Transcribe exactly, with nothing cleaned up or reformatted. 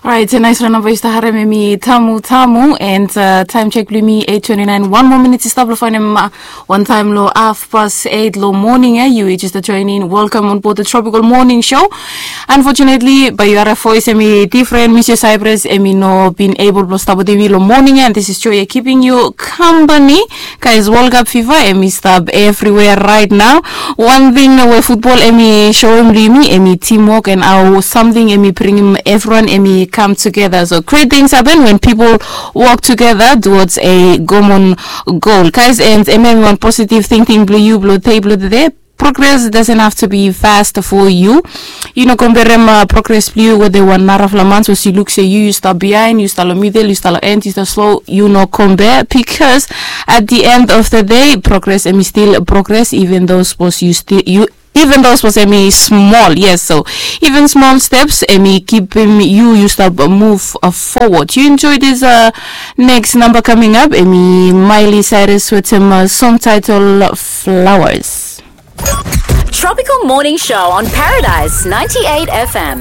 Right, a nice round of voice to harem emi tamu tamu and uh, time check blue me eight twenty nine. One more minute is stop lo finding ma one time lo half past eight lo morning. Eh, you just a join in. Welcome on board the tropical morning show. Unfortunately, by your voice emi different. Mister Cyprus emi no been able to stop with me lo morning, and this is Joy keeping you company. Guys, World Cup fifa emi stop everywhere right now. One thing we football emi showing blue me emi teamwork and how something emi bring him everyone emi come together. So great things happen when people work together towards a common goal. Guys, and emi one positive thinking blue you blue table there. Progress doesn't have to be fast for you. You know, compare ma progress blue with the one narafla months was you look say you you start behind, you start lo middle, you start lo end, you start slow, you know, compare because at the end of the day, progress emi still progress, even though suppose you still you even though suppose emi small, yes. So even small steps emi keep him you you start move uh, forward. You enjoy this uh, next number coming up, emi Miley Cyrus with him uh, song title Flowers. Tropical Morning Show on Paradise ninety-eight F M.